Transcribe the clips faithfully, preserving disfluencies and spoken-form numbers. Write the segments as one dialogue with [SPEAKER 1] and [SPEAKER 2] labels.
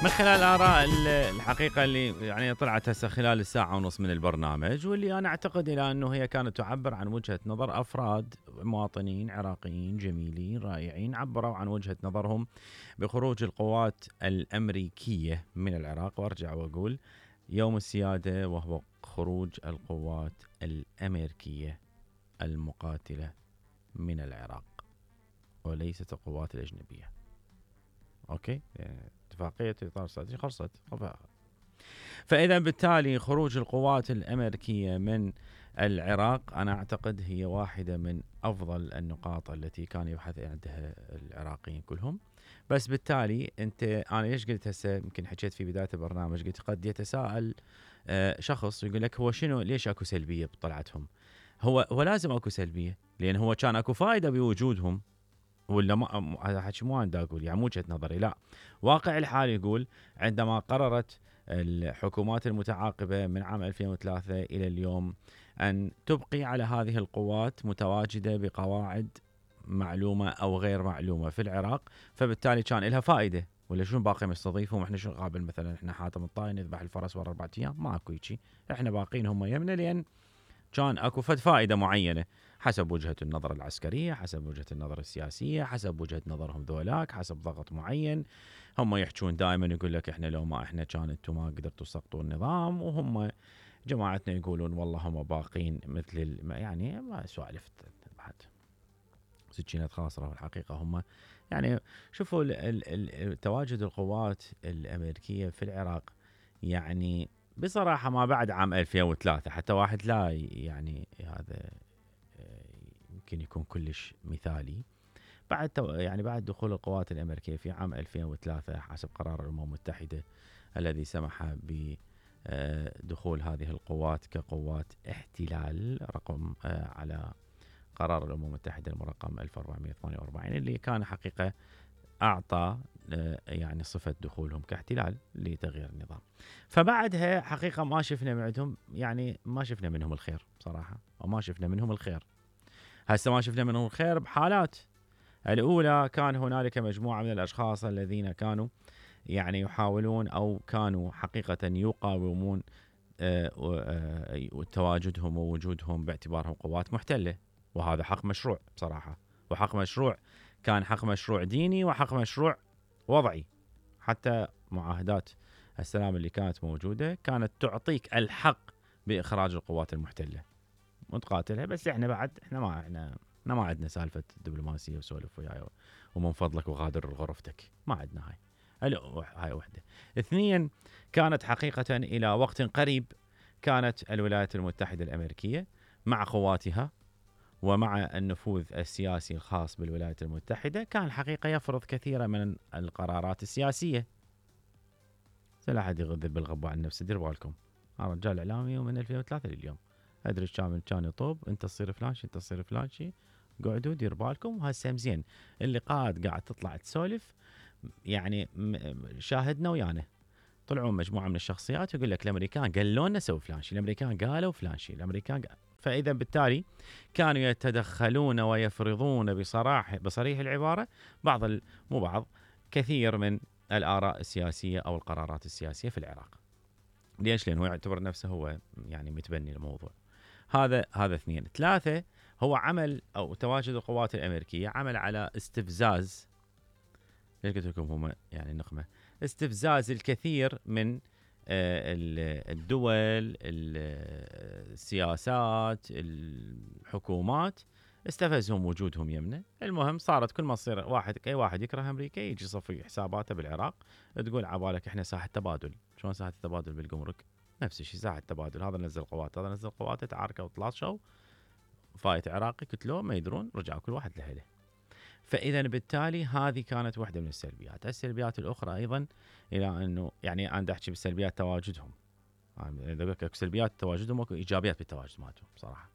[SPEAKER 1] من خلال آراء الحقيقة اللي يعني طلعت هسه خلال الساعة ونص من البرنامج، واللي أنا أعتقد إلى أنه هي كانت تعبر عن وجهة نظر أفراد مواطنين عراقيين جميلين رائعين، عبروا عن وجهة نظرهم بخروج القوات الأمريكية من العراق. وأرجع وأقول يوم السيادة، وهو خروج القوات الأمريكية المقاتلة من العراق وليست القوات الأجنبية. أوكي، اتفاقية إطار استراتيجي خلصت. فإذا بالتالي خروج القوات الأمريكية من العراق أنا أعتقد هي واحدة من أفضل النقاط التي كان يبحث عندها العراقيين كلهم. بس بالتالي أنت أنا ليش قلت هسه، يمكن حكيت في بداية البرنامج، قلت قد يتساءل شخص يقول لك هو شنو ليش أكو سلبية بطلعتهم؟ هو هو لازم أكو سلبية، لأن هو كان أكو فائدة بوجودهم، ولا ما هذا حكي مو أنا أقول، يعني مو وجهة نظري، لا، واقع الحال يقول عندما قررت الحكومات المتعاقبة من عام ألفين وثلاثة إلى اليوم أن تبقي على هذه القوات متواجدة بقواعد معلومة أو غير معلومة في العراق، فبالتالي كان لها فائدة. ولا شنو باقي مستضيفهم؟ احنا شو قابل مثلا احنا حاتم الطائي نذبح الفرس ورا أربعة أيام؟ ما اكو شيء، احنا باقين هم يمنا لأن كان اكو فد فائدة معينة حسب وجهة النظر العسكرية، حسب وجهة النظر السياسية، حسب وجهة نظرهم ذولاك، حسب ضغط معين. هم يحجون دائما يقول لك احنا لو ما احنا كان انتم ما قدرتوا تسقطوا النظام، وهم جماعتنا يقولون والله هم باقين مثل يعني ما سوالف بعد سكينة خاصرة. والحقيقة هم يعني شوفوا تواجد القوات الأمريكية في العراق يعني بصراحة ما بعد عام ألفين وثلاثة حتى واحد لا يعني هذا يمكن يكون كلش مثالي. بعد يعني بعد دخول القوات الأمريكية في عام ألفين وثلاثة حسب قرار الأمم المتحدة الذي سمح بدخول هذه القوات كقوات احتلال رقم على قرار الأمم المتحدة المرقم ألف وأربعمائة وثمانية وأربعين، اللي كان حقيقة أعطى يعني صفة دخولهم كاحتلال لتغيير النظام. فبعدها حقيقة ما شفنا معدهم، يعني ما شفنا منهم الخير بصراحة، وما شفنا منهم الخير. هسه ما شفنا منهم الخير بحالات. الأولى كان هنالك مجموعة من الأشخاص الذين كانوا يعني يحاولون أو كانوا حقيقة يقاومون تواجدهم ووجودهم باعتبارهم قوات محتلة، وهذا حق مشروع بصراحة، وحق مشروع كان حق مشروع ديني وحق مشروع وضعي. حتى معاهدات السلام اللي كانت موجودة كانت تعطيك الحق بإخراج القوات المحتلة وتقاتلها. بس احنا بعد احنا ما احنا احنا ما عندنا سالفة دبلوماسية وسولف وياي ومن فضلك وغادر غرفتك، ما عندنا هاي. هاي وحدة. اثنين، كانت حقيقة إلى وقت قريب كانت الولايات المتحدة الأمريكية مع قواتها ومع النفوذ السياسي الخاص بالولايات المتحدة كان حقيقة يفرض كثيرا من القرارات السياسية. لا أحد يغذب بالغباء عن نفسه، دير بالكم، أنا رجال إعلامي ومن ألفين وثلاثة لليوم أدري كامل كان يطوب أنت تصير فلان شيء أنت تصير فلان شيء، قعدوا دير بالكم. وهسه مزين اللقاءات قاعد تطلع تسولف، يعني شاهدنا ويانا طلعوا مجموعة من الشخصيات يقول لك الأمريكان قالوا لنا سوي فلان شيء، الأمريكان قالوا فلان شيء، الأمريكان قال. فإذا بالتالي كانوا يتدخلون ويفرضون بصراحة بصريح العبارة بعض مو بعض كثير من الآراء السياسية أو القرارات السياسية في العراق. ليش؟ لأنه يعتبر نفسه هو يعني متبني الموضوع. هذا هذا اثنين. ثلاثة، هو عمل أو تواجد القوات الأمريكية عمل على استفزاز، ليش قلت لكم هم يعني نقمة، استفزاز الكثير من الدول، السياسات، الحكومات، استفزهم وجودهم يمنا. المهم صارت كل ما تصير واحد اي واحد يكره امريكا يجي يصفي حساباته بالعراق، تقول عبالك احنا ساحه تبادل. شلون ساحه التبادل بالجمرك؟ نفس الشيء ساحه التبادل، هذا نزل قوات هذا نزل قواته، تعاركوا وتلاطشوا، فايت عراقي قتلوه ما يدرون، رجعوا كل واحد لهله. فإذا بالتالي هذه كانت واحدة من السلبيات. السلبيات الأخرى أيضا إلى أنه يعني أنا أحكي بالسلبيات تواجدهم، إذا قلت لك سلبيات تواجدهم وإيجابيات إيجابيات بالتواجد مالتهم بصراحة.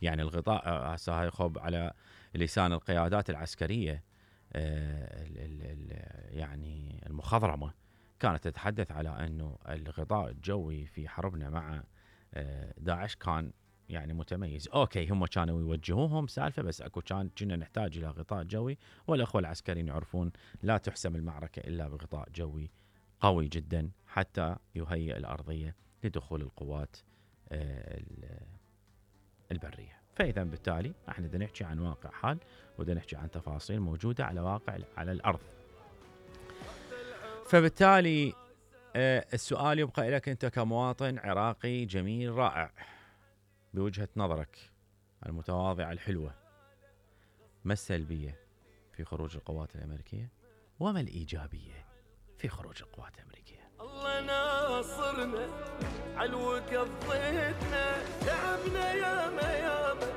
[SPEAKER 1] يعني الغطاء هسه هاي خب على لسان القيادات العسكرية ال ال ال يعني المخضرمة كانت تتحدث على أنه الغطاء الجوي في حربنا مع داعش كان يعني متميز. اوكي هم كانوا يوجهوهم سالفه، بس اكو كان كنا نحتاج الى غطاء جوي، والاخوه العسكريين يعرفون لا تحسم المعركه الا بغطاء جوي قوي جدا حتى يهيئ الأرضية لدخول القوات البرية. فإذا بالتالي احنا بدنا نحكي عن واقع حال، وبدنا نحكي عن تفاصيل موجودة على واقع على الأرض. فبالتالي السؤال يبقى لك أنت كمواطن عراقي جميل رائع بوجهة نظرك المتواضعة الحلوة، ما السلبية في خروج القوات الأمريكية وما الإيجابية في خروج القوات الأمريكية؟
[SPEAKER 2] الله ناصرنا علوك الضيتنا تعبنا ياما ياما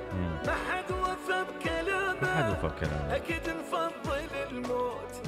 [SPEAKER 2] ما حد وفى بكلامه،
[SPEAKER 1] ما حد وفى بكلامه،
[SPEAKER 2] أكيد نفضل الموت